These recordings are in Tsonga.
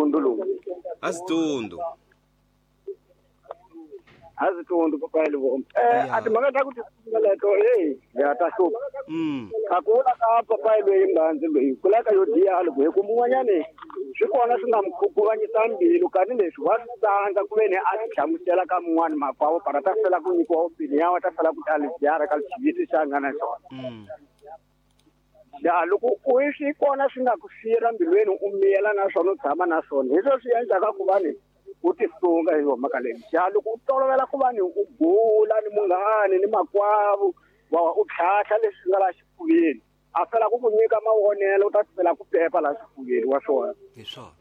Tundu lomu. Azitundu. Azitundu papa Luvombo. A timhaka ta ku tisunga leto hey ya ta hlupha. A ku vula ka papa loyi mbanzi loyi ku laka yo diya loko hi ku mun'wanyani swi kona swi nga mukhuguvanyisa mbilu kani leswi wa swi tsandza ku ve ni a ti hlamusela ka mun'wani makwavo para ta fela ku nyikiwa opinion ya ta fela ku ta libyara ka xiviti xa nga na xona. Ya loko u swi kona swi nga ku siyela mbilweni u miyela na swona u tshama na swona hi swona swi endlaka ku va ni u tisunga hi yona mhaka leyi. Ya loko u tolovela ku va ni u bula ni munghani ni makwavo wa u tlhatlha leswi nga la xifuveni a fela ku ku nyika mavonelo u ta fela ku pepa la xifuveni wa swona. Hi swona.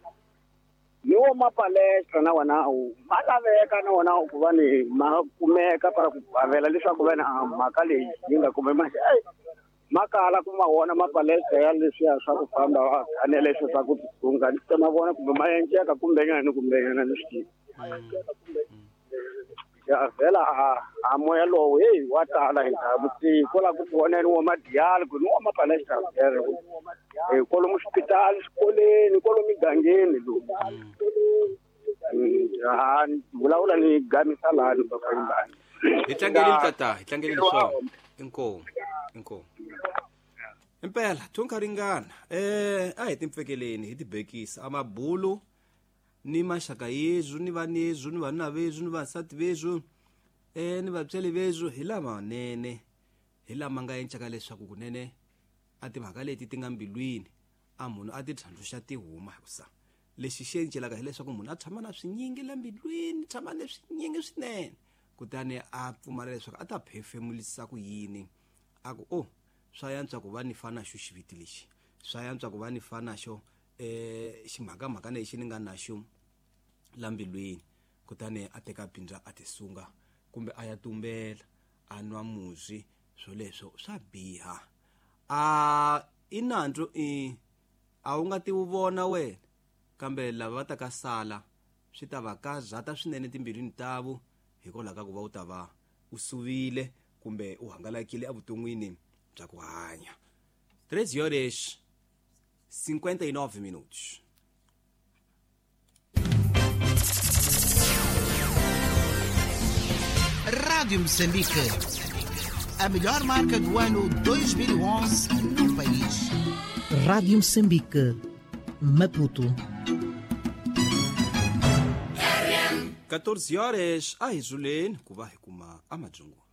Ni wo mapalestra na wona ma laveka na wona ku va ni ma kumeka para ku avela leswaku va na mhaka leyi yi nga kume manje makala ku mavona mapalestra ya leswiya swa ku famba va kanela leswi swa ku tisunga ni ta mavona kumbe ma enceka kumbenyana ni kumbenyana ni swi tivi. Ya vhela a moya lowu hey wa tala hi ntamu kwala ku tivoneni wa madiyali ku ni wa mapalestra vhele kwalomu xipitali xikoleni kwalomu migangeni lowu. Vulavula ni gamisa lani papa Yimbani. Hi tlangeleni tata, hi tlangeleni swona. Inkomu. Inkomu. Impela thunka ringana a hi timpfekeleni hi tibekisa amabulu ni maxaka yezwu ni vanezwu ni vanuna vezwu ni vasati vezwu ni vatswali vezwu hi lamanene hi lama nga encaka leswaku kunene a timhaka leti ti nga mbilwini a munhu a ti tlhandluxa ti huma hikusa lexi xi encelaka hileswaku munhu a tshama na swinyingi la mbilwini tshama na swinyingi swinene kutani a pfumala leswaku a ta phefemulisa ku yini a ku o swa yantswa ku va ni fana xo xiviti lexi swa yantswa ku va ni fana xo ximhakamhaka lexi ni nga na xo la mbilwini kutani a teka bindza a tisunga kumbe a ya tumbela a nwa muzwi swoleswo swa biha a i nandzu i a wu nga ti wu vona wena kambe lava va ta ka sala swi ta va karhata swinene timbilwini tavo hikwalaho ka ku va u ta va u suvile kumbe u hangalakile evuton'wini bya ku hanya. 3 horas 59 minutos. Rádio Moçambique, a melhor marca do ano 2011 no país. Rádio Moçambique, Maputo. 14 horas a hi zuleni ku va hi kuma amadzungu.